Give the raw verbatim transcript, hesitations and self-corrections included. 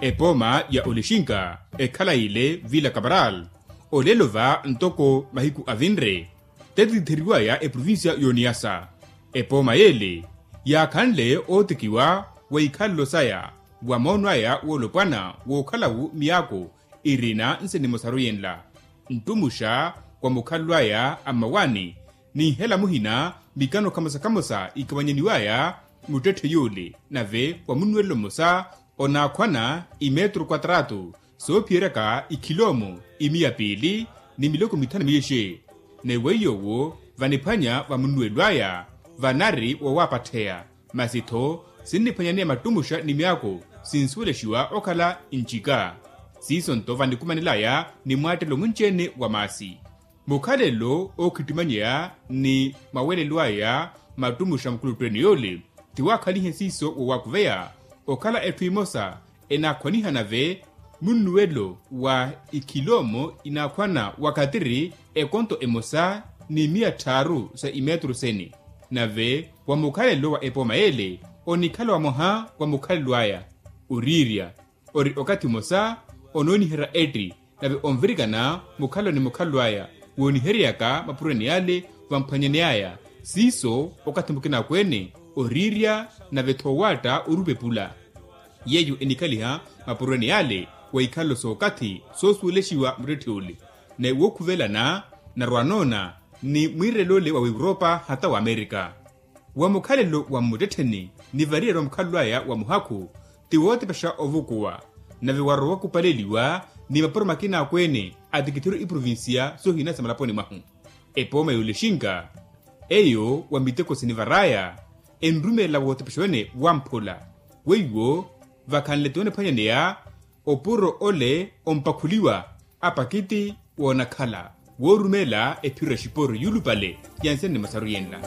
Epooma ya olexinka ekhala ile vila kaparal, olelo va ntoko mahiku avinre, tetitheriwaya eprovincia y'oniyasa. Epooma yele yaakhanle ootikiwa wa ikhalelo saya, wa moono aya woolopwana wookhalawu miyaako irina nse nimosaru yenla, nttumuxa wa mukhalelo aya a mmawaani, ni nhela muhina mikano khamosa-khamosa ikawanyaniwaya muttetthe yule, nave wa munnuwelelo mmosa onaakhwana imetro kwatrato soophiyeryaka ikhiloomo imiya piili ni miloko mithanu miyexe. Ni weiyo owo vaniphwanya va munnuwelo aya vanari wowaapatheya, masi-tho sinniphwanyaneya mattumuxa ni myaako sinsuwelexiwa okhala ncika. Siiso-nto vanikumanelaya ni mwaattelo munci-ene wa maasi. Mukhalelo ookhittimanyeya ni mawelelo aya mattumuxa mukhuluttu-ene yole, ti waakhalihe siiso woowakuveya okhala etthu emosa enaakhwaniha nave munnuwelo wa ikhiloomo inaakhwana wakatiri ekonto emosa ni miya tthaaru sa imetro sene. Nave wa mukhalelo wa epooma yele onikhala wamwaha wa mukhalelo aya, oriirya ori okathi mmosa onooniherya etti, nave onvirikana mukhalelo ni mukhalelo aya wooniheryeyaka mapuroni yale vamphwanyaneyaya. Siiso okathi mukina akweene oriirya nave-tho owaatta orupepula. Yeeyo enikhaliha mapuroni yale wa ikhalelo sookathi soosuwelexiwa muttetthe ole, ni wookhuvelana narwa anoona ni mwiirel'ole wa europa hata wa amerika. Wa mukhalelo wa mmuttettheni ni variyari wa mukhalelo aya wa muhakhu ti wootepexa ovukuwa, nave warowa okupaleliwa ni mapuro makina akweene atikithiru iprovincia soohina sa malaponi mwahu. Epooma y'olexinka eyo wa miteko sinivar'aya enrumelela wootepexa wene wamphula. Weiwo vakhanle ti woniphwanyaneya opuro ole ompakhuliwa apakiti woonakhala woorumelela ephiro ya xiporo yuulupale ya nsene ni masaru yenla.